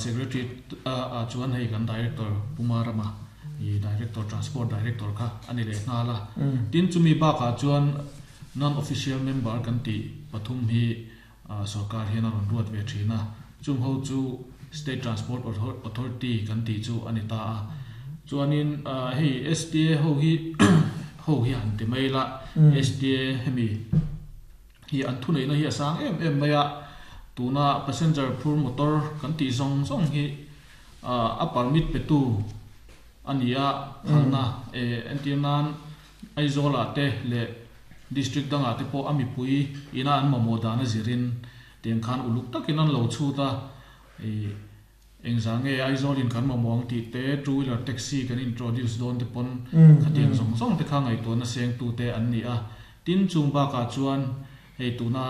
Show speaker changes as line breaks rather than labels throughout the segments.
Secretary ah chuan hei kan Director Pu Marama i Director Transport Director kha a ni leh nghal a. Tin chumi bakah chuan Non-Official Member kan tih pathum hi sorkar hian a rawn ruat ve thin a. Chung ho chu State Transport Authority kan tih chu a ni ta a. Chuanin hei STA ho hi ho hi han ti mai la, STA hemi hi an thuneihna hi a sang em em mai a, tuna passenger phur motor kan tih zawng zawng hi a permit petu a ni a, phalna entir nan Aizawl ah te leh district dangah te pawh a mipui ina an mamawh dan a zirin tiang khan uluk takin an lo chhut a. Engzah nge Aizawl in kan mamawh ang tih te, two wheeler taxi kan introduce dawn te pawn khatiang zawng zawng te kha ngaihtuahna seng tu te an ni a. Tin, chung bakah chuan hei tuna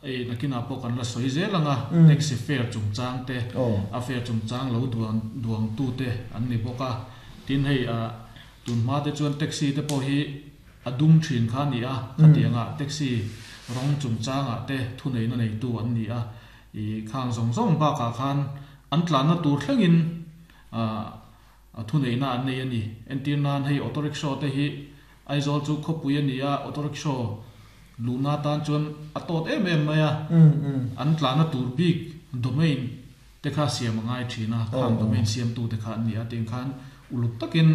hei nakinah pawh kan la sawi zel ang a, taxi fare chungchang te, a fare chungchang lo duang duang tu te an ni bawk a. Tin, hei tun hma te chuan taxi te pawh hi a dum thin kha a ni a, khatiangah taxi rawng chungchangah te thuneihna neitu an ni a. I khang zawng zawng bakah khan an tlanna tur thlengin a thuneihna an nei a ni. Entir nan hei auto rickshaw te hi Aizawl chu khawpui a ni a, auto rickshaw luhna atan chuan a tawt em em mai a, an tlanna tur bik domain te kha siam a ngai thin a, khang domain siamtu te kha an ni a, tiang khan uluk takin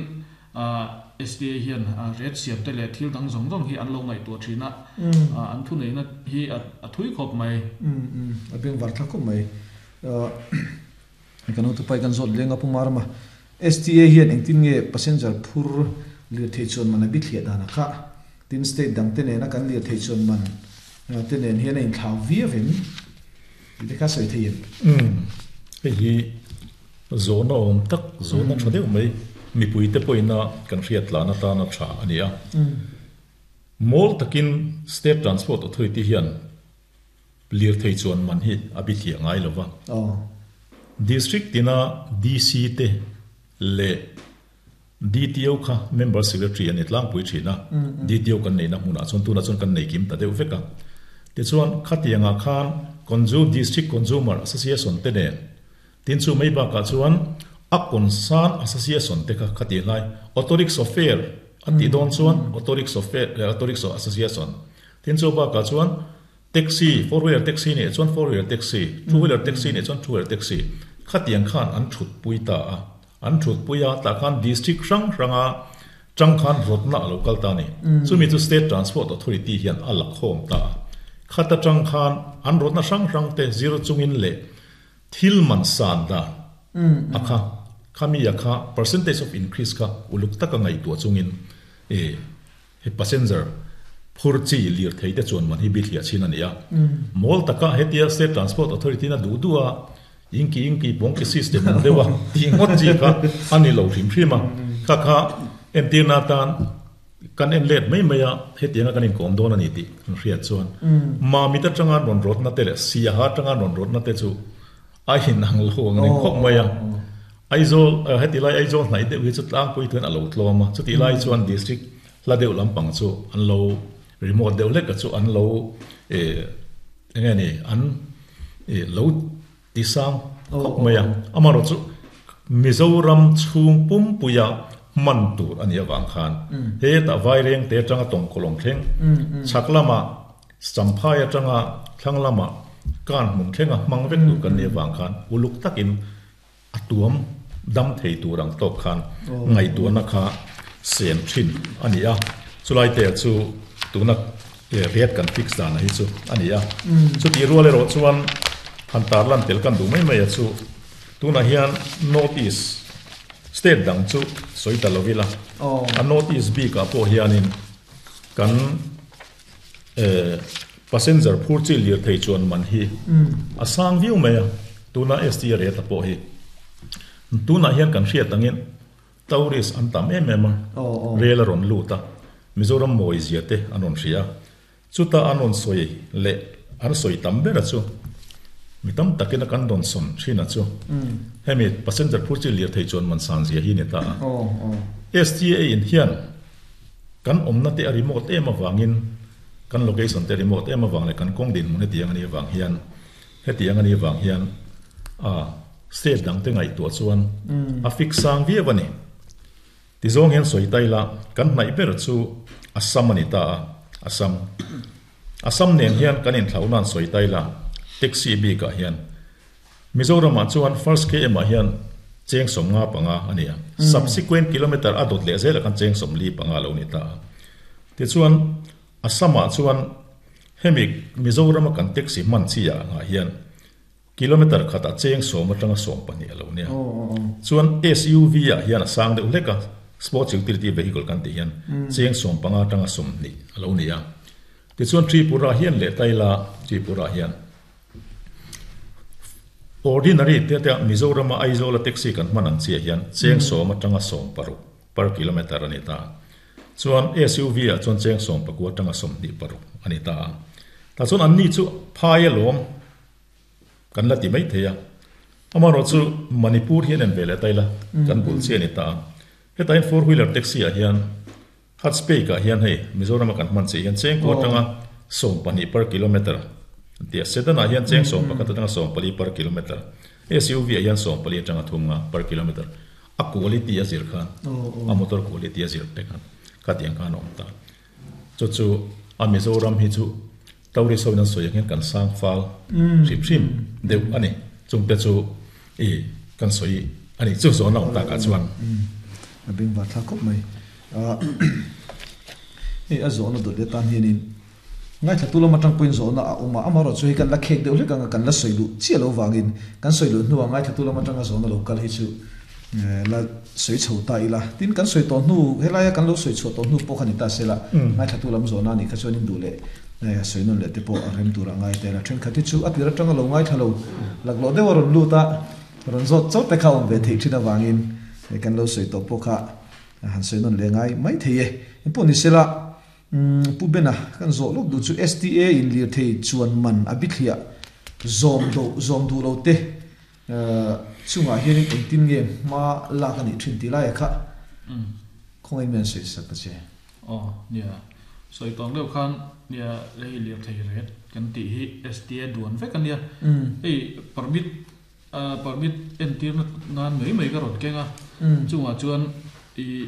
SDA hian ret siam te leh thil dang zawng zawng hi an lo ngaihtuah thin a, an thuneihna hi a thui khawp mai.
A beng var thla khawp mai. Kan hotupai kan zawt leng a Pu Marama. SDA hian engtin nge passenger phur lirthei chuan man a bithliah dan a kha? Tin state dang te nena kan lirthei chuan man te nen hian a inthlau viau em? Tih te kha sawi thei em?
Hei hi Zawhna awm tak, zawhna tha deuh mai, mipuite pawhina kan hriat tlan atana tha a ni a. Mawl takin State Transport Authority hian lirthei chuan man hi a bithliah ngai lo va. District tina DC te leh DTO kha Member Secretary a ni tlangpui thin a, DTO kan neihna hmunah chuan tunah chuan kan nei kim ta deuh vek a. Tichuan khatiangah khan District Consumer Association te nen Tin chu mai bakah chuan a concern association te kha kha tih hlai auto rickshaw fare a tih dawn chuan auto rickshaw fare auto rickshaw association tin chu bakah chuan taxi four wheeler taxi nih chuan four wheeler taxi two wheeler taxi nih chuan two wheeler taxi khatiang khan an thut pui ta a an thut pui a tah khan district hrang hranga tang khan rawtna a lo kal ta a ni chumi chu state transport authority hian a la khawm ta a khata tang khan an rawtna hrang hrang te zir chungin leh Thil man san dan a kha, khami a kha percentage of increase kha uluk taka ngaihtuah chungin e he passenger phur chi lirthei te chuan man hi bithliah chin a ni a. Mawl taka hetia State Transport Authority in a duh duh a, inki inki pawngki system ang deuh a tih ngawt chi kha a ni lo hrim hrim a. Kha kha entirna atan Kan en let mai mai a, hetianga kan inkawm dawn a ni tih kan hriat chuan Mamit atanga rawn rawtna te leh Siaha atanga rawn rawtna te chu a inang lo ang reng khawp mai a. Aizawl, heti lai Aizawl hnaih deuh hi chu tlangpui tuin a lo tlawm a, chutih lai chuan district hla deuh lampang chu an lo remote deuh hlek a chu an lo eng nge ni an lo Ti sang khawp mai a, amaherawhchu Mizoram chhung pumpuia hman tur a nih avang khan hetah Vairengte atanga Tawngkawlawng thleng, chhak lama Champhai atanga thlang lama Kanhmun thlenga hmang vek tur kan nih avang khan uluk takin a tuam dam thei tur ang tawk khan ngaihtuahna kha sem thin a ni a, chulai te chu tuna rate kan fix dan hi chu a ni a. Chutih rual erawh chuan han tarlan tel kan duh mai mai a chu tunah hian North East state dang chu sawi ta lo ila, a North East bikah pawh hianin kan passenger phur chi lirthei chuan man hi a sang viau mai a, tuna ST rate pawh hi tunah hian kan hriat angin tourist an tam em em a, rel a rawn lut a, Mizoram mawi zia te an rawn hria a, chuta an rawn sawi leh an sawi tam ber a chu mi tam takin a kan rawn sawn thin a chu hemi passenger phur chi lirthei chuan man san zia hi a ni ta a, STA in hian Kan awmna te a remote em avangin, kan location te a remote em avang leh kan kawng dinhmun hetiang a nih avang hian, hetiang a nih avang hian a State dang te ngaihtuah chuan a fix sang viau a ni. Tizawng hian sawi ta ila, kan hnaih ber chu Assam a ni ta a, Assam. Assam nen hian kan inthlauh nan sawi ta ila, taxi bikah hian Mizoramah chuan first km ah hian cheng 55 a ni a, subsequent kilometre a dawt leh zelah khan cheng 45 a lo ni ta a. Tichuan Assam-ah chuan hemi Mizorama kan taxi hman chi ah ngah hian kilometre khatah cheng 10 atanga 12 a lo nia. Chuan SUV ah hian a sang deuh hlek a, sports utility vehicle kan tih hian cheng 15 atanga 20 a lo ni a. Tichuan Tripura hian leh Taila Tripura hian Ordinary te te Mizorama Aizawla taxi kan hman ang chiah hian cheng 10 atanga 16 per kilometer a ni ta. Chuan SUV ah chuan cheng 19 atanga 26 a ni ta a. Tah chuan anni chu phai alawm kan la ti mai thei a. Amaherawhchu Manipur hian en ve leh ta ila kan bul chiah a ni ta a. Hetah hian four wheeler taxi ah hian Hatspake ah hian hei Mizorama kan hman chiah hian cheng kua atanga 12 per kilometer an ti a, Sedan ah hian cheng 11 atanga 14 per kilometer, SUV ah hian 14 atanga 30 per kilometer, a quality a zir khan, a motor quality a zir te khan khatiang khan a awm ta. Chu chu a Mizoram hi chu tourist ho in an sawi ang hian kan sang fal hrim hrim deuh a ni, chungte chu i kan sawi a ni chu zawn a awm takah chuan.
A bengvar thlak khawp mai. Hei a zawhna dawt leh tan hianin ngaithla lam atang pawhin zawhna a awm a, amaherawh chu hei kan la khek deuh hlek anga kan la sawi luh chiah lo vangin kan sawi luh hnuah ngaithla lam atanga zawhna lo kal hi chu la sawi chho ta ila. Tin kan sawi tawh hnu helaia kan lo sawi chhuah tawh hnu pawh kha ni ta sela ngaithla lam zawhna a nih kha chuan in duh leh sawi nawn leh te pawh a rem tur a ngai ta ila. Thenkhat hi chu a tir atanga lo ngaithla lo laklawh deuh a rawn lut a, rawn zawt chauh te kha a awm ve theih thin avangin kan lo sawi tawh pawh kha Han sawi nawn leh ngai mai thei e. Engpawh ni sela, Pu Bena kan zawh lawk duh chu STA in lirthei chuan man a bithliah zawm do zawm duh lo te chungah hianin engtin nge hma lak a nih thin tih laia kha khawngaih in min sawi sak ta che.
Aw nia, sawi tawng deuh khan nia hei lirthei ret kan tih hi STA duan vek a nia. Hei permit Permit entirna nan mai mai ka rawn keng a, chungah chuan i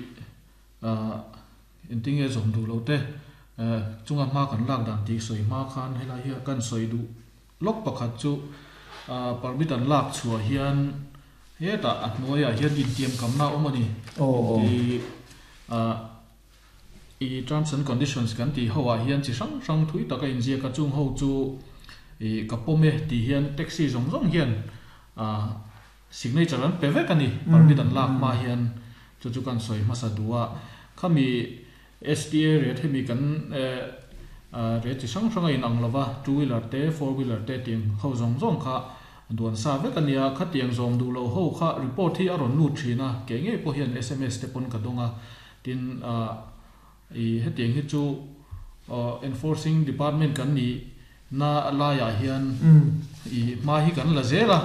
engtinge zawm duh lo te chunga hma kan lak dan tih sawi hma khan helai hi kan sawi duh lawk pakhat chu permit an lak chhuah hian hetah a hnuaiah hian intiamkamna a awm a ni. I terms and conditions kan tih ho ah hian chi hrang hrang thui tak a inziak a, chung ho chu i ka pawm e tih hian taxi zawng zawng hian ah signature an pe vek a ni, permit an lak hma hian chu chu kan sawi hmasa duh a, khami STA rate hemi kan eh rate chi hrang hrang a inang lova, two wheeler te four wheeler te tiang ho zawng zawng kha duan sa vek a nia, khatiang zawm duh loh ho kha report hi a rawn lut thin a, kei ngei pawh hian sms te pawn ka dawng a. Tin, i hetiang hi chu enforcing department kan nih na laiah hian i hma hi kan la zel a,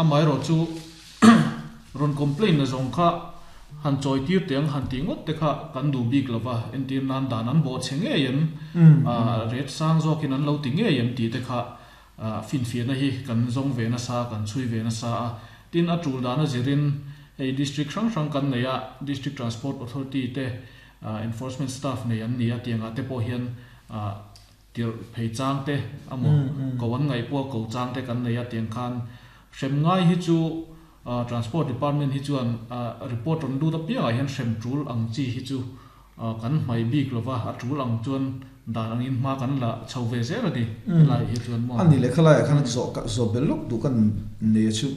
amaherawh chu rawn complain na zawng kha han chawi tir teh ang han tih ngawt te kha kan duh bik lo va, entir nan dan an bawh chhe ngei em, rate sang zawkin an lo ti ngei em tih te kha finfiahna hi kan zawng ve nasa, kan chhui ve nasa a. Tin, a tul dana zirin hei district hrang hrang kan nei a, District Transport Authority te enforcement staff nei an ni a, tiangah te pawh hian tirh phei chang te amaw ko an ngaih pawh ko chang te kan nei a, tiang khan hrem ngai hi chu Transport Department hi chuan report rawn lut apiangah hian hrem tul ang chi hi chu kan hmai bik lova, a tul ang chuan dan angin hma kan la chho ve zel a ni helaiah hi chuan maw.
A ni leh khalaiah khan zawh zawh belh lawk duh kan nei a chu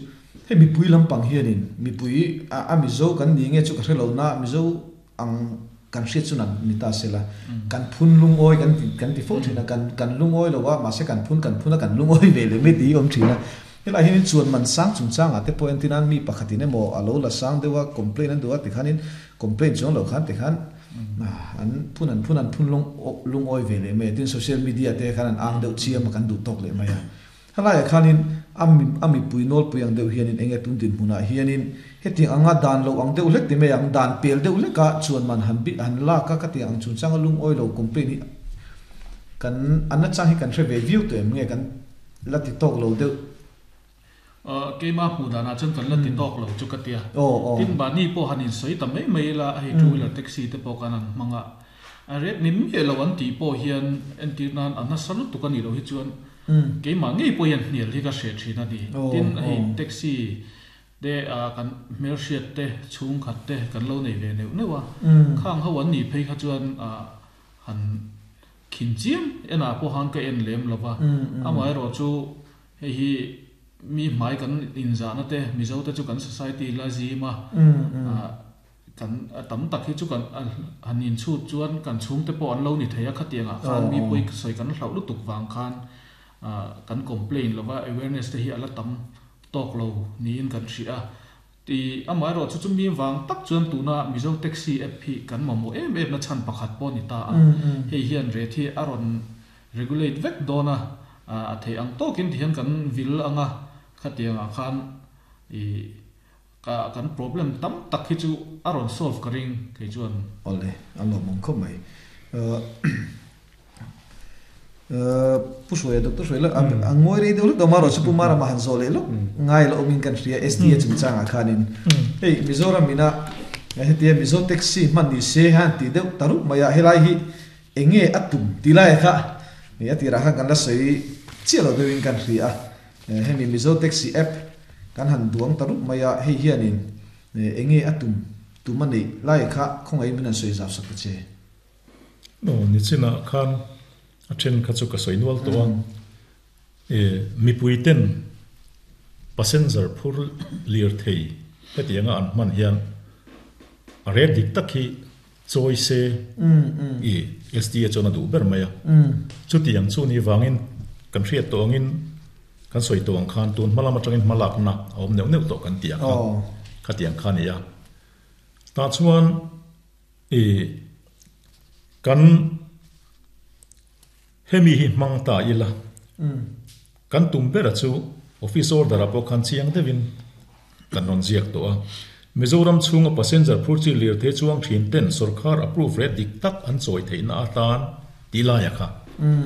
hei mipui lampang hianin mipui a Mizo kan ni nge chu ka hre lo na Mizo ang kan hriat chu nan ni ta sela kan phun lungawi kan ti kan ti fo thin a kan kan lungawi lo a mahse kan phun kan phun a kan lungawi ve leh mai tih hi awm thin a helaiah hianin chuan man sang chungchangah te pawh entir nan mi pakhatin emaw a lo la sang deuh a complaint an duh a tikhanin Complaint chuang lo khan tikhan an phun an phun an phun lung lungawi ve leh mai a, tin social media te khan an ang deuh chiam a kan duh tawk leh mai a. Helaiah khanin a a mipui nawlpui ang deuh hianin enge tun dinhmunah hianin hetiang anga dan lo ang deuh hlek ti mai ang, dan pel deuh hleka chuan man han bi han lak a ka ti ang chungchanga lungawi lo complaint hi kan an nachang hi kan hre ve viau tawh em nge kan la ti tawk lo deuh.
Keimah hmuh danah chuan kan la ti tawk lo chu ka tia. Tin, mahni pawh han insawi ta mai mai ila, hei two wheeler taxi te pawh khan an hmang a, a ret ni miah lo an tih pawh hian entir nan a nasa lutuk a nih loh hi chuan keimah ngei pawh hian hnial hi ka hreh thin a ni. Tin, hei taxi te kan hmelhriat te, chhungkhat te kan lo nei ve neuh neuh a, khang ho an nih phei kha chuan han khin chiam enah pawh khan ka en lem lo va, amaherawh chu Hei hi mi hmai kan inzahna te, Mizo te chu kan society la zim a, kan tam tak hi chu kan han inchhut chuan kan chhungte pawh an lo ni thei a, khatiangah khan mi pawi sawi kan hlauh lutuk vang khan kan complain lova awareness te hi a la tam tawk lo niin kan hria a. Ti amaherawh chu chumi vang tak chuan tuna Mizo Taxi app hi kan mamawh em em na chhan pakhat pawh a ni ta a, hei hian rate hi a rawn regulate vek dawn a, a theih ang tawkin tihian kan vil ang a, khatiangah khan i ka kan problem tam tak hi chu a rawn solve ka ring kei chuan.
Awle, a lawmawm khawp mai. Pu Hruaia, Doctor Hruaia a ngawi rei deuh hlek awm a, rawh chu Pu Marama han zawh leh lawk ngai la awmin kan hria SDA chungchangah khanin hei Mizoram ina hetia Mizo taxi hman ni se han tih deuh ta rup mai a, helai hi Eng nge a tum ti lai kha a tirah khan kan la sawi chiah lo deuhin kan hria a, hemi Mizo Taxi app kan han duang ta rup mai a, hei hianin eng nge a tum tum a neih lai kha khawngaihin min han sawi zau sak ta che.
Aw, nichinah khan a then kha chu ka sawi nual tawh a, mipui ten passenger phur lirthei hetianga an hman hian a rel dik tak hi Chawi se i SDA chuan a duh ber mai a. Chutiang chu ni vangin kan hriat tawh angin kan sawi tawh ang khan tun hma lam atangin hma lakna a awm neuh neuh tawh kan tih ang kha khatiang kha a ni a. Tah chuan i kan hemi hi hmang ta ila kan tum bera chu office order ah pawh khan chiang deuhin Kan rawn ziak tawh a. Mizoram chhunga passenger phur chi lirthei chuang thin ten sorkar approve reh dik tak an chawi theihna atan tih laia kha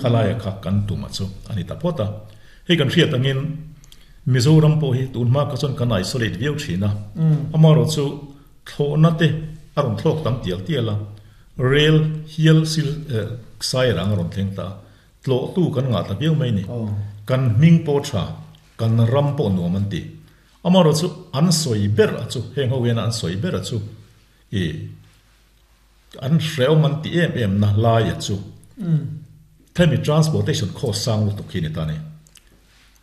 kha laia kha kan tum a chu a ni ta phawt a. Hei kan hriat angin Mizoram pawh hi tun hma kha chuan kan isolate viau thin a. Amaherawh chu thlawhna te a rawn thlawk tam tial tial a, rail hial sil sai rang a rawn thleng ta a, tlawhtu kan ngah ta viau mai ni. Kan hming pawh tha, kan ram pawh nuam an ti. Amaherawh chu an sawi ber a chu, heng ho hian an sawi ber a chu i an hrehawm an ti em em na lai a chu hemi transportation cost sang lutuk hi ni ta ni.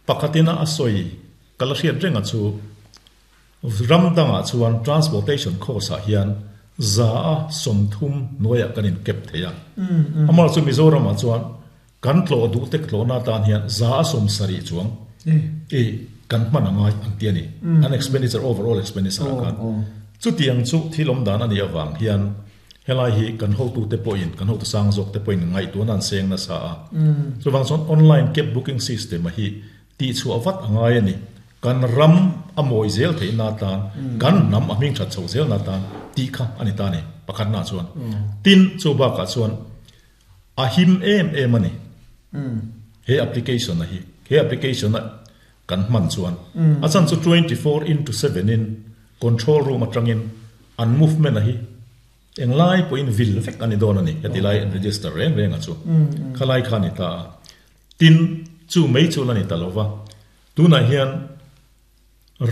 Pakhatin a a sawi ka la hriat reng a chu ram dangah chuan transportation cost ah hian za a 30 hnuaiah kan in kep thei a. Amaherawh chu Mizoram ah chuan Kan tlawh duh tek tlawhna atan hian 70% chuang i kan hman a ngai an ti a ni. An expenditure, overall expenditure ah khan. Chutiang chu thil awm dan a nih avang hian helai hi kan hotute pawhin, kan hotu sang zawk te pawhin ngaihtuahna an seng nasa a. Chuvang chuan online cab booking system a hi tihchhuah vat a ngai a ni. Kan ram a mawi zel theihna atan, kan hnam a hming that chho zelna atan tih kha a ni ta a ni, pakhatnaah chuan. Tin, chu bakah chuan A him em em a ni. He application a hi, he application a kan hman chuan a chan chu 24 into 7 in control room atangin an movement a hi englai pawhin vil vek a ni dawn a ni. Heti lai an register reng reng a chu khalai kha a ni ta a. Tin, chu mai chu la ni ta lo va, tunah hian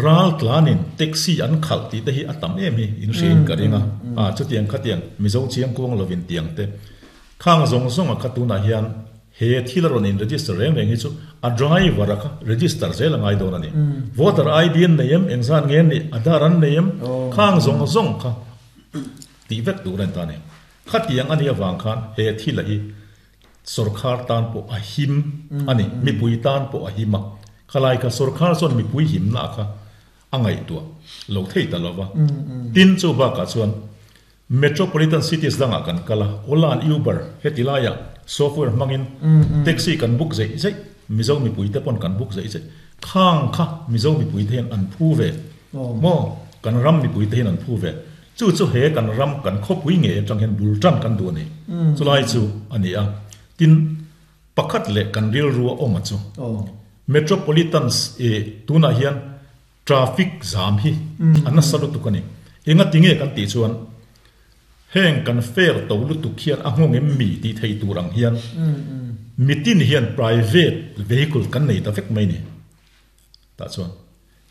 Ral tlanin taxi an khalh tih te hi a tam em hi in hria in ka ring a, a chutiang khatiang Mizo chiang kuang lovin tiang te khang zawng zawng a kha tunah hian he thil a rawn in register reng reng hi chu a driver a kha register zel a ngai dawn a ni. Voter ID an nei em, engzat nge an nih, Aadhaar an nei em, khang zawng zawng kha tih vek tur a ni ta a ni. Khatiang a nih avang khan he thil a hi Sorkhar tan pawh a him a ni, mipui tan pawh a him a. Khalai kha sorkhar chuan mipui himna kha a ngaihtuah lo thei ta lo va. Tin, chu bakah chuan metropolitan cities dangah kan kal a, Ola and Uber heti laiah software hmangin taxi kan book zeih zeih, Mizo mipuite pawn kan book zeih zeih. Khang kha Mizo mipuite hian an phu ve maw? Kan ram mipuite hian an phu ve. Chu chu he kan ram kan khawpui ngei atang hian bul tan kan duh a ni. Chulai chu a ni a. Tin, pakhat leh kan rilru a awm a chu. Metropolitans i tunah hian. Traffic zam hi a nasa lutuk a ni. Engatinge kan tih chuan heng kan fare to lutuk hian a nghawng em mi tih theih tur ang hian mitin hian private vehicle kan nei ta vek mai ni. Tah chuan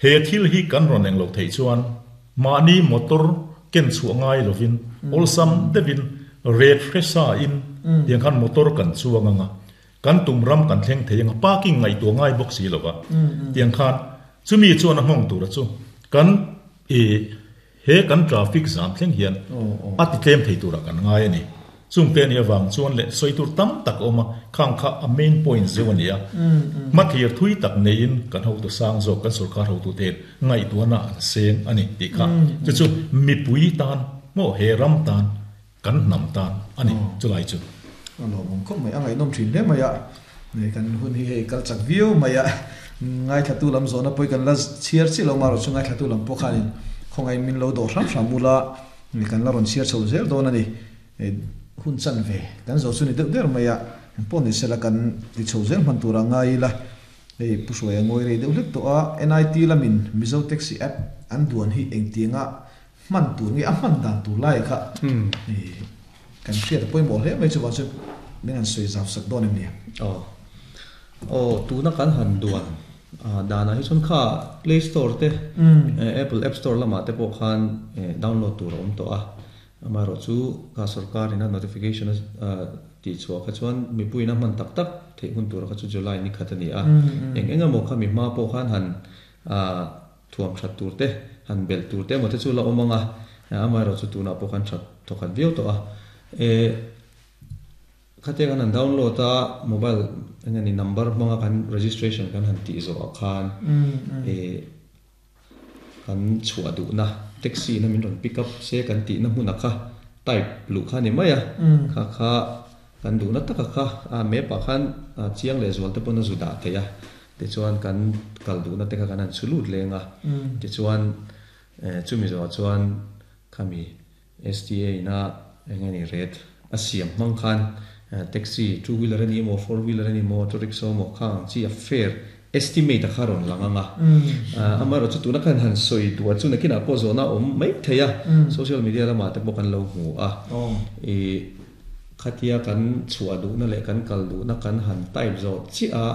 he thil hi kan rawn eng loh theih chuan mahni motor ken chhuah ngai lovin awlsam deuhin ret hresa in tiang khan motor kan chuang ang a, kan tum ram kan thleng thei ang a, parking ngaihtuah ngai bawk si lova tiang khan chumi chuan a nghawng tura chu kan i He kan traffic zam thleng hian a ti tlem thei turah kan ngai a ni. Chungte a nih avang chuan leh sawi tur tam tak a awm a, khang kha a main point zeuh a ni a. Hmathlir thui tak neiin kan hotu sang zawk, kan sorkar hotute hian ngaihtuahna an seng a ni tih kha chu chu mipui tan maw he ram tan kan hnam tan a ni chulai chu.
A lawmawm khawp mai, a ngaihnawm thin hle mai a, kan hun hi hei kal chak viau mai a, ngaithlatu lam zawhna pawh hi kan la chhiar chiah lo marawh chu ngaithlatu lam pawh khanin khawngaih min lo dawh hram hram ula kan la rawn chhiar chho zel dawn a ni, hun chan ve kan zo chu ni deuh der mai a, engpawh ni sela kan ti chho zel hman turah ngai ila, hei Pu Hruaia ngawi rei deuh hlek tawh a, NIT lamin Mizo Taxi App an duan hi engtianga Hman tur nge a hman dan tur lai kha kan hriat a pawimawh hle mai chuvang chuan min han sawi zau sak dawn em ni?
Aw. Aw, tuna kan han duan danah hi chuan kha Play Store te, Apple App Store lamah te pawh khan download tur a awm tawh a. Amaherawhchu kha sorkarin a notification a tihchhuah kha chuan mipuiin a hman tak tak theih hun tura kha chu July ni khat a ni a. Eng eng emaw kha mi hma pawh khan han Thuam that tur te, han belh tur te emaw te chu la awm ang a, amaherawh chu tunah pawh khan that thawkhat viau tawh a. E, khatia kan han download a, mobile eng nge ni number hmanga kan registration kan han tih zawh ah khan e, kan chhuah duhna taxi in a min rawn pick up se kan tihna hmunah kha type luh kha a ni mai a, kha kha kan duhna taka kha a map ah khan chiang leh zual te pawn a zu dah theih a. Tichuan kan kal duhna te kha kan han chhu lut leng a, tichuan chumi zawhah chuan khami STA ina eng nge ni rate a siam hmang khan taxi two wheeler a ni emaw four wheeler a ni emaw auto rickshaw emaw khang ang chi a fare estimate a kha rawn lang ang a. Amaherawhchu chu tuna khan han sawi duh a chu nakinah pawh zawhna a awm mai thei a, social media lamah te pawh kan lo hmu a. Ih Khatia kan chhuah duhna leh kan kal duhna kan han type zawh chiah a,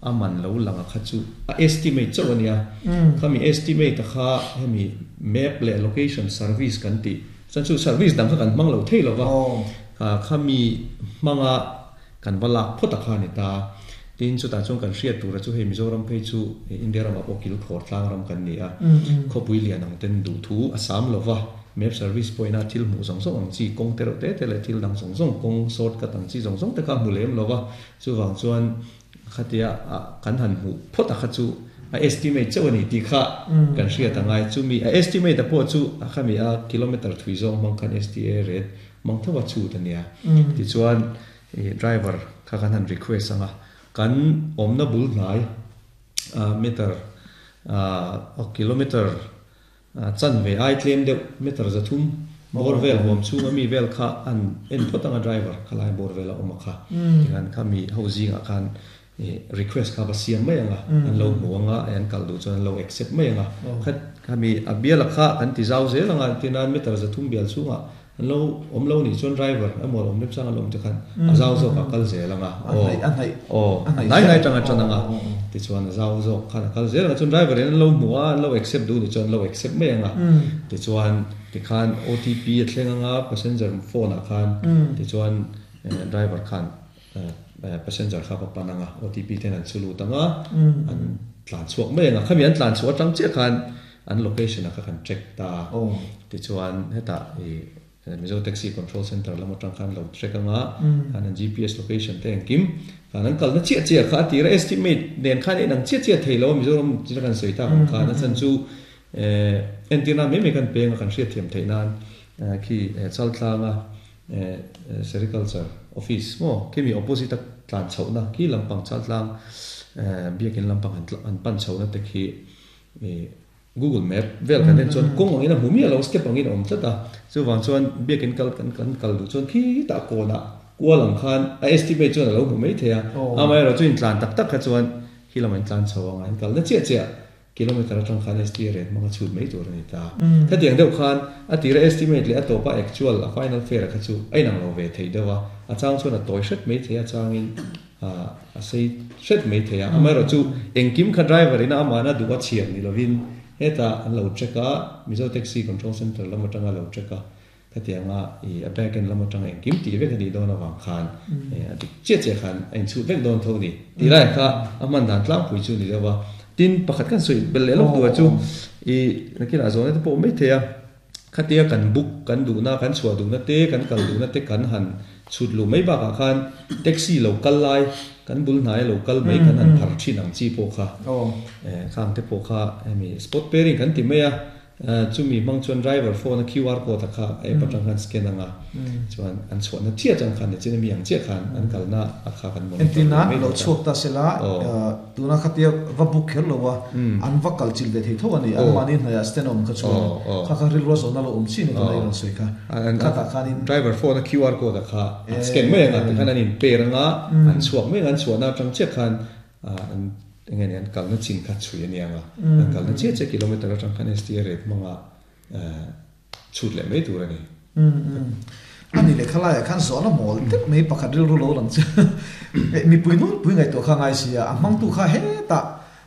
a man lo lang a kha chu a estimate chauh a nia. Khami estimate a kha hemi map leh location service kan tih chuan chu service dang kha kan hmang lo thei lo va, khami hmanga kan va lak phawt a kha a ni ta. Tin, chutah chuan kan hriat tura chu hei Mizoram phei chu India ramah pawh kil khawr tlang ram kan ni a, khawpui lian ang ten duhthu a sam lo va. Map service pawhin a thil hmuh zawng zawng ang chi, kawng te reuh te te leh thil dang zawng zawng, kawng short cut ang chi zawng zawng te kha a hmu lem lo va, chuvang chuan khatia kan han hmuh phawt a kha chu a estimate chauh a ni tih kha kan hriat a ngai. Chumi a estimate a pawh chu a khami a kilometer thui zawng hmang khan STA rate hmang tho a chhut a nia. Tichuan driver kha kan han request ang a, kan awmna bul hnai meter kilometer Chan ve ai tlem deuh meter 300 bawr vel huam chhung a mi vel kha an en phawt ang a driver kha lai bawr vel a awm a kha tikhan kha mi ho zingah khan request kha va siam mai ang a an lo hmu ang a an kal duh chuan an lo accept mai ang a kha kha mi a bial a kha kan ti zau zel ang a tin a meter 300 bial chhungah an lo awm lo nih chuan driver emaw awm remchang an lo awm te khan a zau zawk ah kal zel ang a aw aw hnai hnai tang a tan ang a tichuan a zau zawk khan a kal zel ang a chuan driver in an lo hmu a an lo accept duh nih chuan an lo accept mai ang a tichuan tikhan OTP a thleng ang a passenger phone ah khan tichuan driver khan passenger kha va pan ang a OTP ten an chu lut ang a an tlan chhuak mai ang a khami an tlan chhuah atang chiah khan An location a kha kan track ta a, tichuan hetah i Mizo Taxi Control Centre lam atang khan lo track anga khan an GPS location te engkim khan an kalna chiah chiah kha a tir a estimate nen khan a inang chiah chiah thei lo a Mizoram china kan sawi tak ang khan a chhan chu entirna mai mai kan peng a kan hriatthiam theih nan khi Chaltlanga Sericulture Office maw khimi opposite a tlan chhohna khi lampang Chaltlang biakin lampang an pan chhohna te khi Google Map vel kan en chuan kawng angin a hmu miah lo, step angin a awm tlat a. Chuvang chuan biakin kal kan kan kal duh chuan khitah kawnah kual ang khan a estimate chuan a lo hmu mai thei a. Amaherawhchu intlan tak tak kha chuan khi lamah intlan chho ang a, in kalna chiah chiah Kilometre atang khan STA rate hmanga chhut mai tur a ni ta. Khatiang deuh khan a tira estimate leh a tawpa actual, a final fare kha chu a inang lo ve thei deuh a, a chang chuan a tawi hret mai thei a, a changin a sei hret mai thei a. Amaherawhchu engkim kha driver ina amahna duh a chhiar ni lovin hetah an lo check a, Mizo Taxi Control Centre lam atanga lo check a, Khatianga i a back end lam atanga engkim tih vek a nih dawn avang khan a dik chiah chiah khan a inchhut vek dawn tho a ni tih laiah kha a hman dan tlangpui chu a ni deuh a. Tin, pakhat kan sawi belh leh lawk duhah chu i nakinah zawhna te pawh awm mai thei a, khatia kan book kan duhna, kan chhuah duhna te, kan kal duhna te kan han chhut luh mai bakah khan taxi lo kal lai, kan bul hnaia lo kal mai kan han phar thin ang chi pawh kha khang te pawh kha hemi spot pairing kan ti mai a. Chumi hmang chuan driver phone a QR code a kha app atang khan scan anga chuan an chhuahna chiah atang khan nichin ami ang chiah khan an kalna a kha kan monitor
Entir nan lo chhuak ta sela tuna khatia va book kher lo a an va kal chilh ve thei tho a ni an mahni hnaihah stand a awm kha chuan kha kha rilru a zawhna lo awm chin a tuna i rawn sawi kha khatah khanin
Driver phone a QR code a kha an scan mai anga tikhan an in pair anga an chhuak mai anga an chhuahna atang chiah khan An enge ni an kalna chin kha chhui a niang a, an kalna chiah chiah kilometer atang khan STA rate hmanga chhut leh mai tur a ni.
A ni leh khalaiah khan zawhna mawl deuh mai pakhat rilru lo lang chu mipui nunpui ngaihtuah kha ngai si a, a hmangtu kha hetah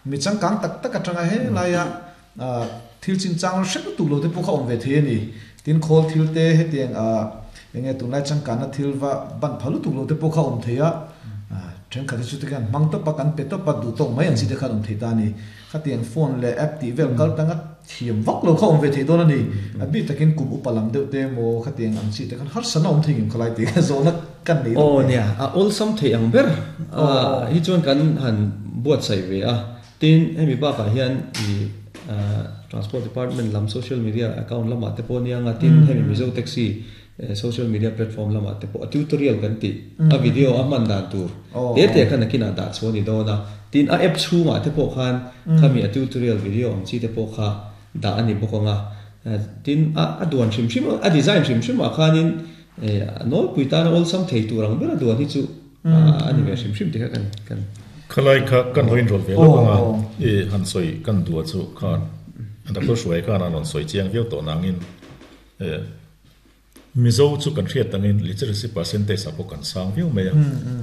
mi changkang tak tak atanga helaia thil chinchang hre lutuk lo te pawh kha awm ve thei a ni. Tin khawl thil te hetiang enge tunlai changkanna thil va ban pha lutuk lo te pawh kha awm thei a, thenkhat hi chu te khan hmang tawp a, kan pe tawp a, duh tawk mai ang chi te khan awm thei ta a ni. Khatiang phone leh app tih vel kal tanga thiam vak lo kha awm ve thei dawn a ni. A bik takin kum upa lam deuh te emaw khatiang ang chi te khan harsatna awm thei ngem khalai tih kha zawhna kan nei
deuh. Aw nia, a awlsam thei ang ber hi chuan kan han buatsaih ve a. Tin, hemi bakah hian i Transport Department lam social media account lamah te pawh nia nga tin hemi Mizo Taxi social media platform lamah te pawh a tutorial kan tih a video a hman dan tur te te khan nakinah dah chhuah a ni dawn a. Tin, a app chhungah te pawh khan khami a tutorial video ang chi te pawh kha dah a ni bawk ang a. Tin, a duan hrim hrim a design hrim hrimah khanin a nawlpui tana awlsam thei tur ang ber a duan hi chu a ni ve hrim hrim tih kha kan kan.
Khalai kha kan lo inrawlh ve lawk ang a, i han sawi kan duh a chu khan Doctor Hruai khan a rawn sawi chiang viau tawh nangin Mizo chu kan hriat angin literacy percentage ah pawh kan sang viau mai a,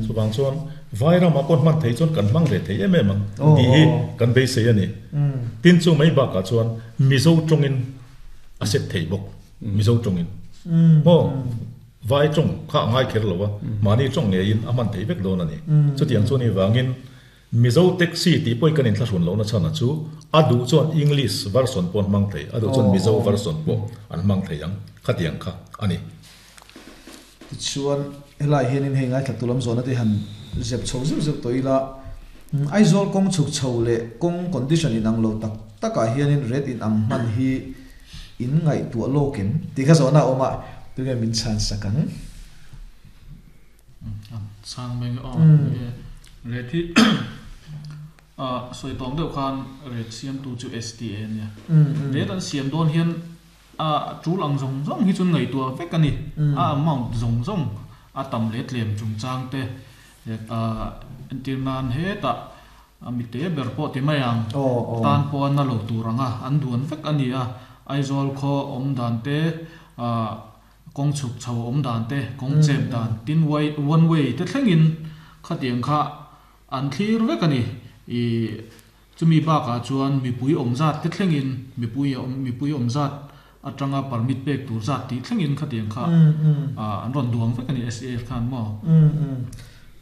chuvang chuan vai ramah pawh hman thei chuan kan hmang ve thei em em ang tih hi kan beisei a ni. Tin chu mai bakah chuan Mizo tawngin a set thei bawk, Mizo tawngin maw? Vai tawng kha a ngai kher lo a, mahni tawng ngeiin a hman thei vek dawn a ni. Chutiang chu ni vangin Mizo taxi tih pawhin kan inthlahrun lohna chhan a chu a duh chuan English version pawh an hmang thei, a duh chuan Mizo version pawh an hmang thei ang, khatiang kha a ni.
Tichuan helai hianin hei ngaithla tu lam zawhna te han zep chho zeuh zeuh tawh ila, Aizawl kawng chhuk chho leh kawng condition inang lo tak takah hianin rate inang hman hi In ngaihtuah lawk em? Tih kha zawhna a awm a, tunge min chhan sak ang?
Chhang mai nge aw. Ret hi sawi tawng deuh khan ret siamtu chu STA a nia. Ret an siam dawn hian a tul ang zawng zawng hi chuan ngaihtuah vek a ni. A amount zawng zawng a tam leh tlem chungchang te entir nan hetah A mite ber pawh ti mai ang. Tan pawh a na lo tur ang a, an duan vek a ni a. Aizawl khaw awm dan te, kawng chhuk chho awm dan te, kawng chep dan, tin one way te thlengin khatiang kha an thlir vek a ni. I chumi bakah chuan mipui awm zat te thlengin mipui mipui awm zat atanga permit pek tur zat tih thlengin khatiang kha an rawn duang vek a ni SAF khan maw?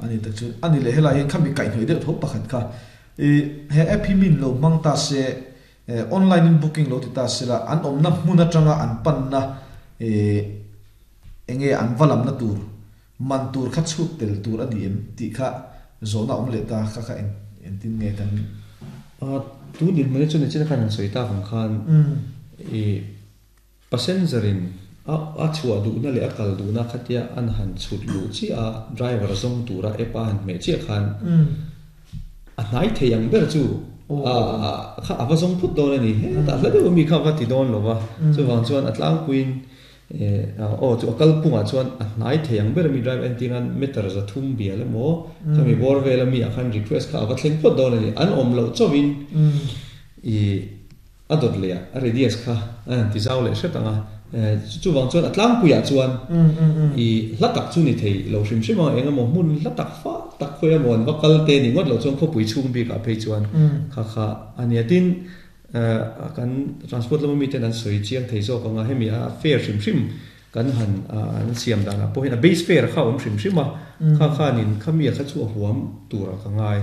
A ni tak chu a ni leh helai hian khami kaihhnawih deuh tho pakhat kha i he app hi min lo hmang ta se online in booking lo ti ta se la an awmna hmun atanga an panna i enge an va lamna tur man tur kha chhut tel tur a ni em tih kha zawhna awm leh ta kha kha eng engtin nge kan
Tun dinhmun hi chu nichina khan han sawi tak ang khan i passenger in a a chhuah duhna leh a kal duhna khatia an han chhut luh chiah a driver zawng tura app a han hmeh chiah khan a hnai thei ang ber chu a kha a va zawng phut dawn a ni hetah hla deuh ami kha a va ti dawn lo va chuvang chuan a tlangpuiin Aw chu a kalphungah chuan a hnai thei ang ber ami driver entir nan meter 300 bial emaw khami bawr vel ami ah khan request kha a va thleng phawt dawn a ni. An awm loh chauhin I a dawt leh a a radius kha a han ti zau leh hret ang a, chuvang chuan a tlangpuiah chuan i hla tak chu ni thei lo hrim hrim a, eng emaw hmun hla tak fah tak khawi emaw an va kal te ni ngawt lo chuan khawpui chhung bikah phei chuan kha kha a nia. Tin, kan transport lama miten an sawi chiang thei zawk ang a, hemi a fare hrim hrim kan han an siam danah pawh hian a base fare kha a awm hrim hrim a, kha khanin khami a kha chu a huam turah ka ngai.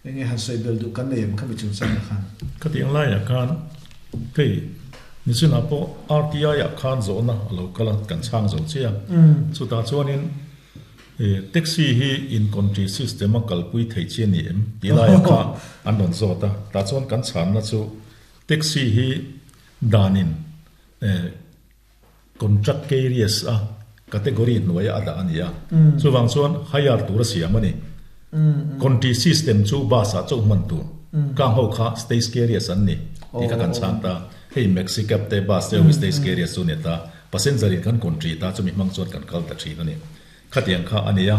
Enge han sawi bel duh kan nei em khami chungchangah khan?
Khatiang laiah khan hei nichinah pawh RTI ah khan zawhna a lo kal a, kan chhang zo chiah a. Chutah chuanin taxi hi in country system a kalpui theih chi a ni em tih laiah kha an rawn zawt a. Tah chuan kan chhanna chu taxi hi danin Contract carriers a category hnuaia a dah a ni a, chuvang chuan hire tur a siam a ni. Country system chu bus ah chauh hman tur, kang ho kha stage carriers an ni tih kha kan chhang ta. Hei maxi cab te bus te ho hi stage carriers chu a ni ta, passenger in kan country ta chumi hmang chuan kan kal ta thin a ni. Khatiang kha a ni a,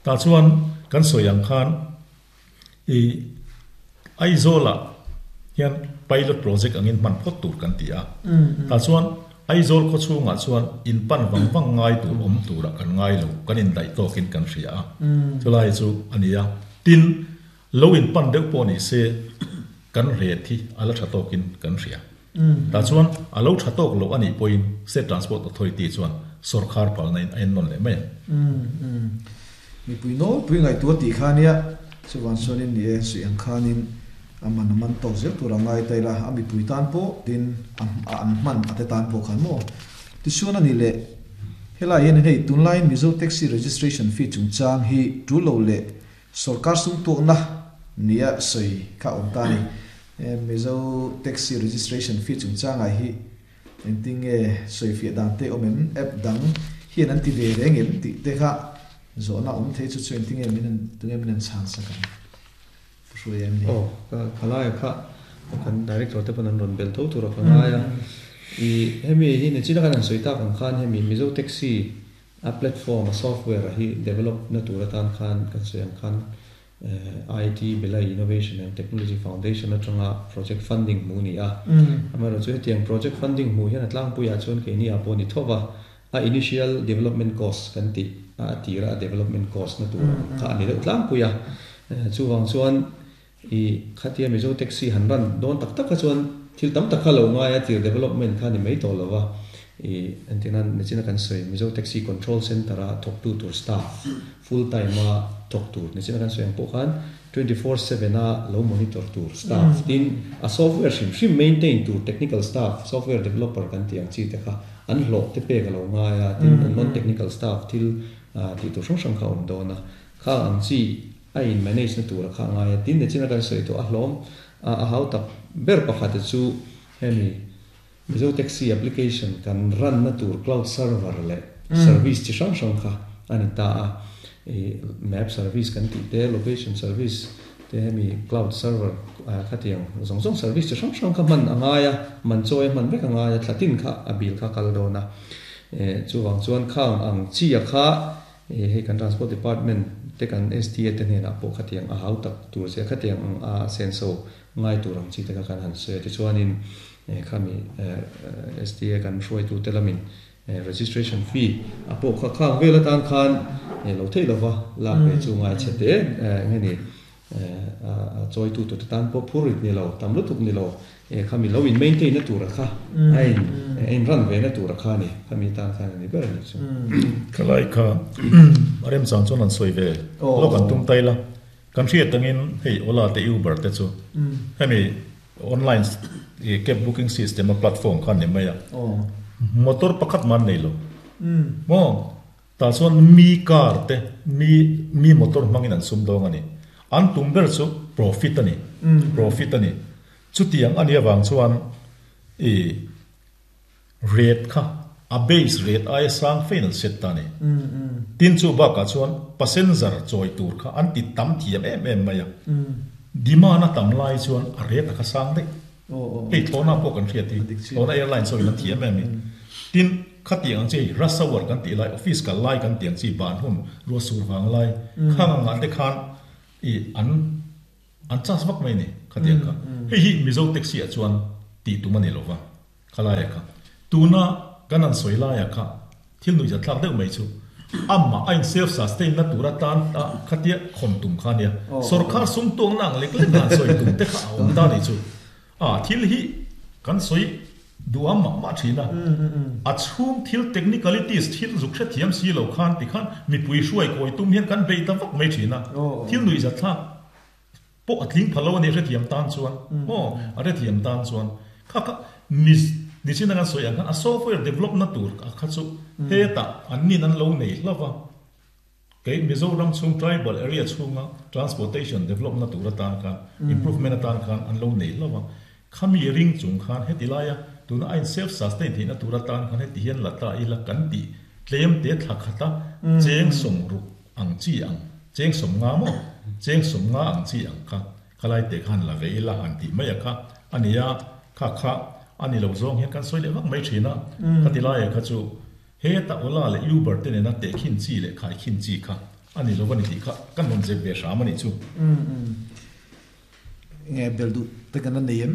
tah chuan kan sawi ang khan I Aizawlah hian pilot project angin hman phawt tur kan ti a. Tah chuan Aizawl khaw chhungah chuan in pan vang vang ngai tur awm turah kan ngai lo, kan indaih tawkin kan hria a. Chulai chu a ni a. Tin, lo in pan deuh pawh ni se kan ret hi a la tha tawkin kan hria. Tah chuan a lo tha tawk loh a nih pawhin State Transport Authority chuan sawrkhar palna in a ennawn leh mai ang.
Mipui nawlpui ngaihtuah tih kha nia, chuvang chuanin ni e, suih ang khanin a man a man tawk zel tur a ngai ta ila, a mipui tan pawh tin a an hman a te tan pawh khan maw? Tichuan a ni leh, helai hianin hei tunlaiin Mizo Taxi Registration Fee chungchang hi tul lo leh sawrkar sum tuakna nia sawi kha a awm ta a ni. Mizo Taxi Registration Fee chungchangah hi Engtin nge sawifiah dan te awm em? App dang hian an ti ve reng em tih te kha zawhna awm thei chu chu engtin nge min han tunge min han chhan sak ang? Pu Hruaia em ni?
Aw, ka khalaia kha kan director te pawn an rawn bel tho tur a ka ngai a. I hemi hi nichina khan han sawi tak ang khan hemi Mizo Taxi a platform a software a hi develop na tur atan khan kan sawi ang khan IT Belai Innovation and Technology Foundation atanga project funding hmuh a ni a. Amaherawhchu chu hetiang project funding hmuh hian a tlangpuiah chuan keini ah pawh ni tho va, a initial development cost kan tih a tira a development cost na tur ang kha a ni deuh tlangpui a. Chuvang chuan i khatia Mizo taxi han run dawn tak tak kha chuan thil tam tak kha lo ngai a tir development kha a ni mai tawh lo va. I entirnan nichina kan sawi Mizo Taxi Control Centre a thawktu tur staff full time a thawk tur nichina kan sawi ang pawh khan 24/7 a lo monitor tur staff tin a software hrim hrim maintain tur technical staff software developer kan tih ang chi te kha an hlawh te pek a lo ngai a tin an non technical staff thil tih tur hrang hrang kha a awm dawn a khang ang chi a in manage na tur a kha a ngai a tin nichina kan sawi tawh a hlawm a hau tak ber pakhat chu hemi Mizo Taxi application kan run na tur cloud server leh service chi hrang hrang kha a ni ta a. I map service kan tih te, location service te hemi cloud server khatiang zawng zawng service chi hrang hrang kha hman a ngai a, man chawi a hman vek a ngai a, thlatin kha a bill kha kal dawn a. Chuvang chuan khang ang chi a kha hei kan transport department te kan STA te hnenah pawh khatiang a hau tak tur che khatiang ang a senso ngai tur ang chi te kha kan han sawi a. Tichuanin khami STA kan hruaitute lamin registration fee a pawh kha khang vel atan khan lo theih lova lak ve chu ngai chhe te nge ni a chawitu tur te tan pawh phur rit ni lo tam lutuk ni lo khami lo in maintain na tura kha a in a in run ve na tura kha a ni khami tan khan a ni ber a ni chu.
Khalai kha a remchang chuan an sawi ve lawk an tum tai la. Kan hriat angin hei Ola te Uber te chu hemi online cab booking system a platform kha a ni mai a, motor pakhat mah an nei lo maw? Tah chuan mi car te mi mi motor hmangin an sum dawng a ni. An tum ber chu profit a ni, profit a ni. Chutiang a nih avang chuan i Rate kha a base rate aia sang fein an set ta a ni. Tin chu bakah chuan passenger chawi tur kha an ti tam thiam em em mai a. Demand a tam lai chuan a rate a kha sang daih. Hei thlawhna pawh kan hriat hi thlawhna airlines ho in an thiam em i. Tin khatiang ang chi hei rush hour kan tih lai office kal lai kan tih ang chi ban hun ruah sur vang lai khang angah te khan i an An charge vak mai a ni. Khatiang kha. Hei hi Mizo taxi ah chuan tih tum a ni lova, khalaia kha. Tuna kan han sawi laia kha thil nuihzat thlak deuh mai chu amah a in self sustain na tur atan a khatia khawn tum kha ania. Sorkar sum tuangna ang lek lek han sawi tum te kha a awm ta a nih chu. A thil hi kan sawi duham mah mah thin a, a chhung thil technicalities thil zuk hrethiam si lo khan tikhan mipui hruai kawi tum hian kan bei ta vak mai thin a, thil nuihzat thlak pawh a tling pha lo a ni hrethiam tan chuan maw a hrethiam tan chuan kha kha ni nichin a kan sawi ang khan a software develop na tur kha chu hetah an nin an lo nei hlauh va. Kei Mizoram chhung tribal area chhunga transportation develop na tur atan khan improvement atan khan an lo nei hlauh a, khami ring chung khan heti laia tuna a in self sustain theihna tur atan khan heti hian la ta ila kan tih tlem te thla khata cheng sawmruk ang chi ang cheng sawmnga maw cheng sawmnga ang chi ang kha khalai te khan la ve ila han tih mai a kha a nia kha kha a ni lo zawng hian kan sawi leh vak mai thin a khati laia kha chu Heta Ola leh Uber te nena tehkhin chi leh khaikhin chi kha a ni lo a ni tih kha kan rawn zep ve hram a nih chu.
Nge bel duh te kan la nei em?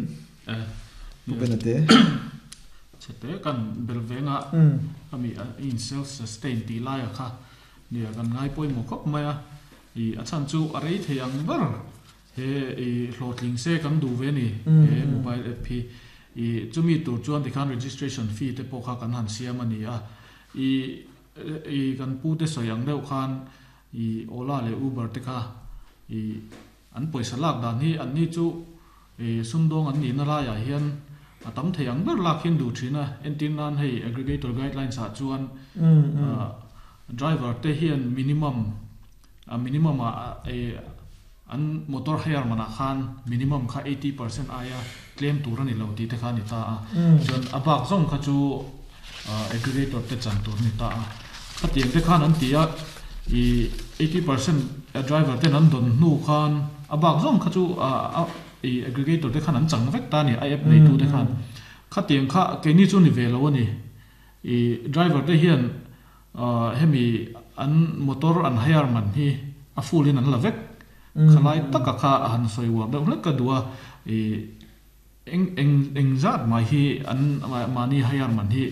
Pu Bena te.
Chhe te kan bel veng a, ami in self sustain tih laia kha nia kan ngai pawimawh khawp mai a, i a chhan chu a rei thei ang ber He i hlawhtling se kan duh ve ni he mobile app hi. I chumi tur chuan tikhan registration fee te pawh kha kan han siam a ni a. I i kan pu te sawi ang deuh khan i Ola leh Uber te kha i an pawisa lak dan hi an ni chu i sumdawng an nihna laiah hian a tam thei ang ber lak hian duh thin a. Entir nan hei aggregator guidelines ah chuan driver te hian minimum A minimum ah an motor hire manah khan minimum kha 80% aia tlem tur a ni lo tih te kha a ni ta a. Chuan a bak zawng kha chu aggregator te chan tur a ni ta a. Khatiang te khan an ti a, i 80% driver ten an dawn hnu khan a bak zawng kha chu i aggregator te khan an chang vek ta a ni, a app neitu te khan. Khatiang kha keini chu ni ve lo a ni. I driver te hian Hemi an motor an hire man hi a full in an la vek. Khalai taka kha a han sawi uar deuh hlek ka duh a, i eng eng eng zat mai hi an mahni hire man hi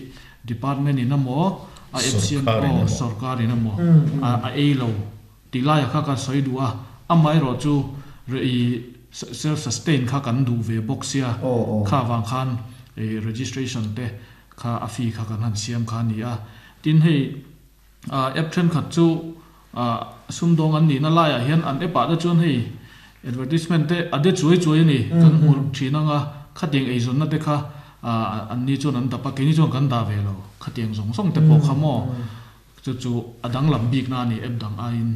department in emaw a FCM aw sorkar in emaw a ei lo tih laia kha ka sawi duh a, amaherawh chu i self sustain kha kan duh ve bawk sia kha vang khan i registration te kha a fee kha kan han siam kha a ni a. Tin hei app thenkhat chu sumdawng an nihna laiah hian an app ah te chuan hei advertisement te a de chuai chuai a ni kan hmu thin ang a, khatiang eizawnna te kha an ni chuan an dap a, keini chuan kan dah ve lo, khatiang zawng zawng te pawh kha maw chu chu a danglam bikna a ni app dang aiin.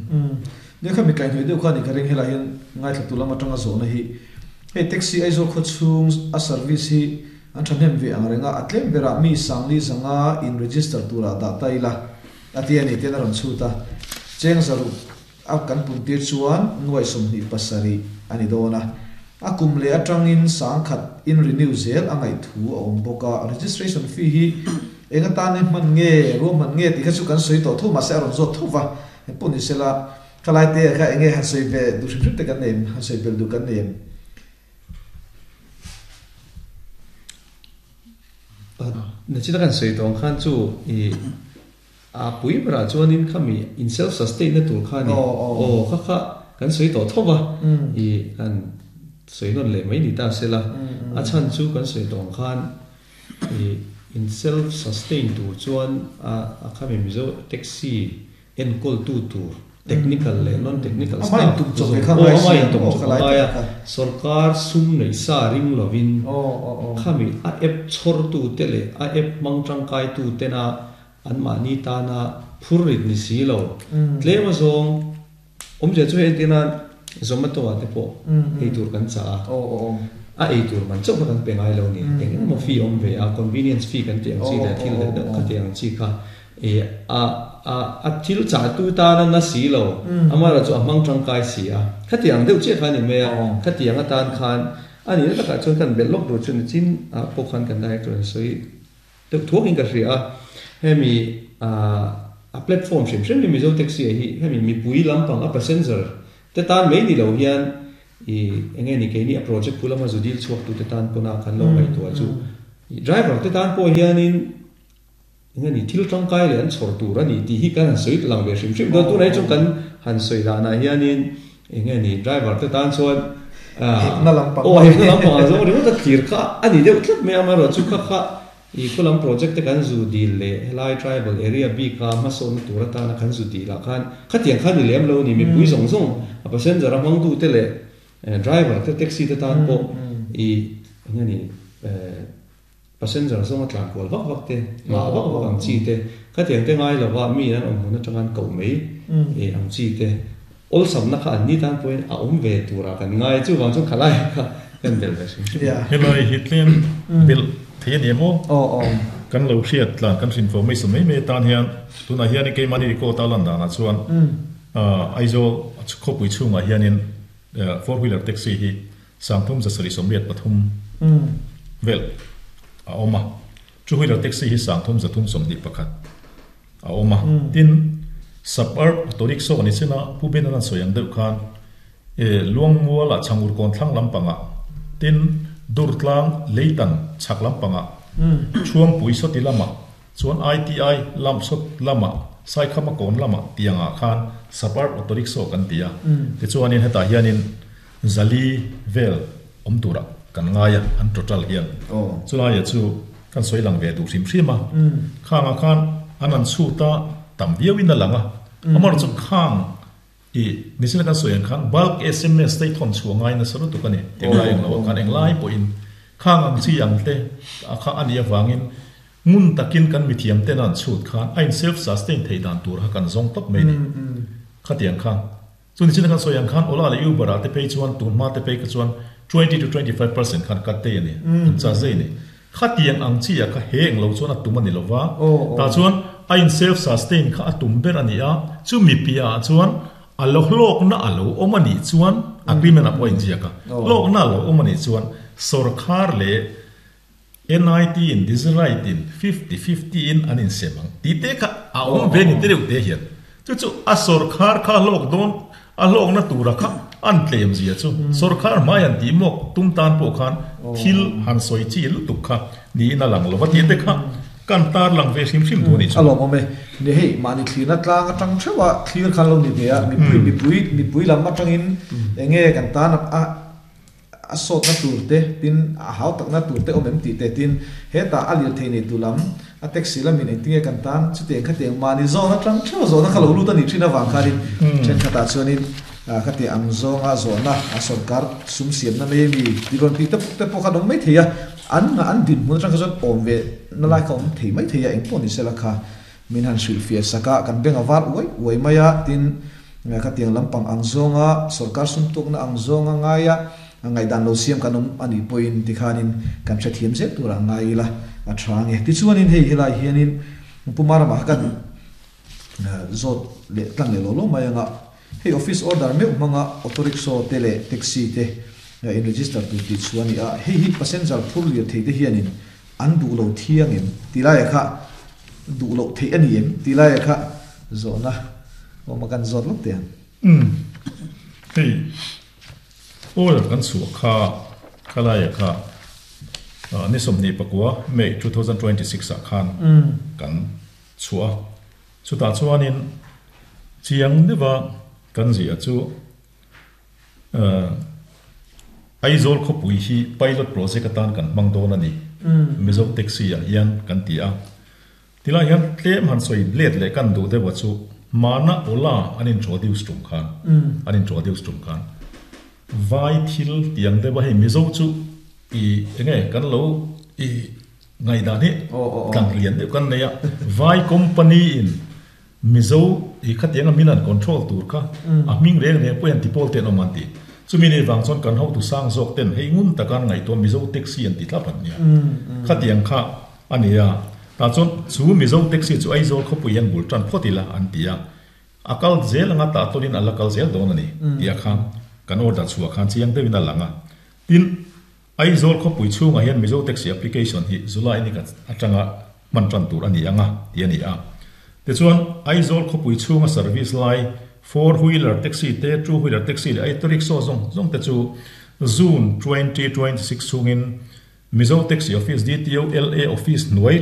Nia kha mi kaihhnawih deuh kha a ni ka ring helai hian ngaithla tu lam atanga zawhna hi hei taxi Aizawl khawchhung a service hi An thahnem ve ang reng a, a tlem berah mi Sangli zanga in register turah dah ta ila a ti a ni tiin a rawn chhut a. Cheng zaruk a kan puntir chuan nuaih 27 a ni dawn a. A kum leh atangin sangkhat in renew zel a ngaih thu a awm bawk a. Registration fee hi eng atan hman nge, ruahman nge tih kha chu kan sawi tawh tho mahse a rawn zawt tho va. Engpawh ni sela, khalai te kha enge han sawi ve duh hrim hrim te kan nei em, han sawi belh duh kan nei em?
Nachina kan sawi tawh ang khan chu i a pui berah chuanin khami in self sustain na tur kha a ni. Aw kha kha kan sawi tawh tho va i kan sawi nawn leh mai ni ta sela a chhan chu kan sawi tawh ang khan i in self sustain tur chuan a khami Mizo taxi Enkawltu tur technical leh non-technical staff zawng aw ama intum chawp a ngai a, sorkar sum neih sa ring lovin khami a app chhawrtute leh a app hmang tangkaitutena anmahni tana phur rit ni si lo. Tlem azawng awmzia chu hei entirna Zomato ah te pawh ei tur kan chah a, a ei tur man chauh kha kan pe ngai lo ni. Eng emaw fee awm ve a, convenience fee kan tih ang chi leh thil deuh deuh kha tih ang chi kha E a a a thil chahtu tan a na si lo, amaherawh chu a hmang tangkai si a. Khatiang deuh chiah kha a ni mai a, khatiang atan khan a nihna takah chuan kan belh lawk tur chu nichin ah pawh khan kan director in sawi deuh thuakin ka hria a. Hemi a a platform hrim hrim hi Mizo Taxi ah hi hemi mipui lampang a passenger te tan mai ni lo hian I enge ni keini a project pu lama zu dil chhuak tute tan pawna kan lo ngaihtuah chu driver te tan pawh hianin enge ni thil tangkai leh an chhawr tur a ni tih hi kan han sawi lang ve hrim hrim dawn. Tunah hi chuan kan han sawi danah hianin enge ni driver te tan chuan
Hekna lampang.
Aw hekna lampang ang zawng ringawt a thlir kha a ni deuh tlat mai a, amaherawhchu kha kha I khulam project te kan zu dil leh helai tribal area bika hmasawnna tur atana kan zu dil ah khan khatiang khan ni lem lo a ni, mipui zawng zawng a passenger a hmangtu te leh driver te taxi te tan pawh i eng nge ni passenger zawnga tlan kual vak vak te ngah vak vak ang chi te khatiang te ngai lova mi an awm hmun atanga an koh mai ang chi te awlsamna kha an ni tan pawhin a awm ve turah kan ngai chuvang chuan khalai kha kan belh ve hrim hrim.
Helai hi tlem belh thei a ni em aw? Kan lo hriat tlan kan hrin formation mai mai atan hian tunah hian keimahni record a lan danah chuan Aizawl khawpui chhungah hianin four wheeler taxi hi 3783 vel a awm a, two wheeler taxi hi 3321 a awm a. Tin, Suburb auto rickshaw ni chin a, Pu Benan an sawi ang deuh khan e Luangmuala Chhangur kawn thlang lampangah, tin, Durtlang Leitan chhak lampangah, Chhuangpui sawti lamah, chuan ITI lam sawt lamah, Saikhama kawn lamah tiangah khan Suburb auto rickshaw kan ti a. Tichuanin hetah hianin Zali vel awm turah kan ngai a, an total hian. Chulaia chu kan sawi lang ve duh hrim hrim a, khangah khan an an chhut a, tam viauin a lang a. Amaherawhchu chu khang i nichin a kan sawi ang khan bulk sms te i thawn chhuah ngai nasa lutuk a ni. Englai ang loah khan englai pawhin khang ang chi ang te kha a nih avangin ngun takin kan mithiam ten a an chhut khan a in self sustain theih dan tur kha kan zawng tawp mai a ni. Khatiang khan. Chu nichin a kan sawi ang khan Ola leh Uber ah te phei chuan tun hma te phei kha chuan 20 to 25% khan cut te a ni, an charge zai a ni. Khatiang ang chi ah kha he eng lo chuan a tum a ni lova, tah chuan a in self sustain kha a tum ber a ni a, chu mi piah ah chuan a lo hlawkna a lo awm a nih chuan agreement ah pawh a inziak a, hlawkna a lo awm a nih chuan sawrkhar leh NIT in Digitalite in 50 50 in an insem ang tih te kha a awm ve ni te deuh te hian chu chu a sawrkhar kha hlawk dawn a hlawkna tura kha an tlem zia chu sawrkhar hmai han tih mawk tum tan pawh khan thil han sawi chi lutuk kha niin a lang lo va tih te kha kan tar lang ve hrim hrim duh a nih chu.
A lawmawm e. Ni hei mahni thlirna tlang atang theuh a thlir khan lo ni ve a mipui mipui mipui lam atangin enge kan tan a A sawtna tur te, tin a hau takna tur te awm em tih te, tin hetah a lirthei nei tu lam, a taxi lamin engtinge kan tan chutiang khatiang mahni zawn atang theuh zawhna kha lo lut a nih thin avang khanin thenkhatah chuanin khatiang ang zawnga zawhna a sawrkar sum siamna mai ami tih rawn tih te te pawh khan awm mai thei a, an an dinhmun atang kha chuan awm ve na lai kha awm thei mai thei a, engpawh ni sela kha Min han hrilhfiah sak a, kan beng a var uai uai mai a, tin, khatiang lampang ang zawnga sawrkar sum tukna ang zawnga ngaia ngaihdan lo siam kan awm a nih pawhin tikhanin kan hrethiam zel turah ngai ila a tha nge. Tichuanin hei helai hianin Puma ramah kha kan zawt leh tlang leh lo lo mai anga hei office order meuh hmanga auto rickshaw te leh taxi te in register tur tih chhuah a ni a, hei hi passenger phur lirthei te hianin An duh lo thiang em? Tih laia kha duh loh theih a ni em? Tih laia kha zawhna awm a kan zawt lawk teh ang.
Umm. Hei order kan chhuah kha kha laia kha ni 24 May 2026 ah khan kan chhuah a. Chutah chuanin chiang deuha kan ziah chu Aizawl khawpui hi pilot project atan kan hmang dawn a ni, Mizo taxi ah hian kan ti a. Tilai hian tlem han sawi let leh kan duh deuh a chu Mana Ola an introduce tum khan, an introduce tum khan vai thil tiang deuh a hei Mizo chu i enge kan lo i ngaihdan hi tlang lian deuh kan nei a, vai company in Mizo i khatianga min an control tur kha a hming reng reng pawh hian tipawl te an awm an ti. Chumi nei vang chuan kan hotu sang zawk ten hei ngun taka an ngaihtuah Mizo taxi an ti thlap an nia. Khatiang kha a ni a. Tah chuan chu Mizo taxi chu Aizawl khawpui hian bul tan phawt ila an ti a. A kal zel anga tah tawlin a la kal zel dawn a ni tih a khan kan order chhuah khan chiang deuhin a lang a. Tin, Aizawl khawpui chhungah hian Mizo Taxi application hi July ni khat atanga hman tan tur a ni ang a, tih a ni a. Tichuan, Aizawl khawpui chhunga service lai Four wheeler taxi te, two wheeler taxi leh auto rickshaw zawng zawng te chu June 2026 chhungin Mizo Taxi Office, DTO, LA Office hnuai.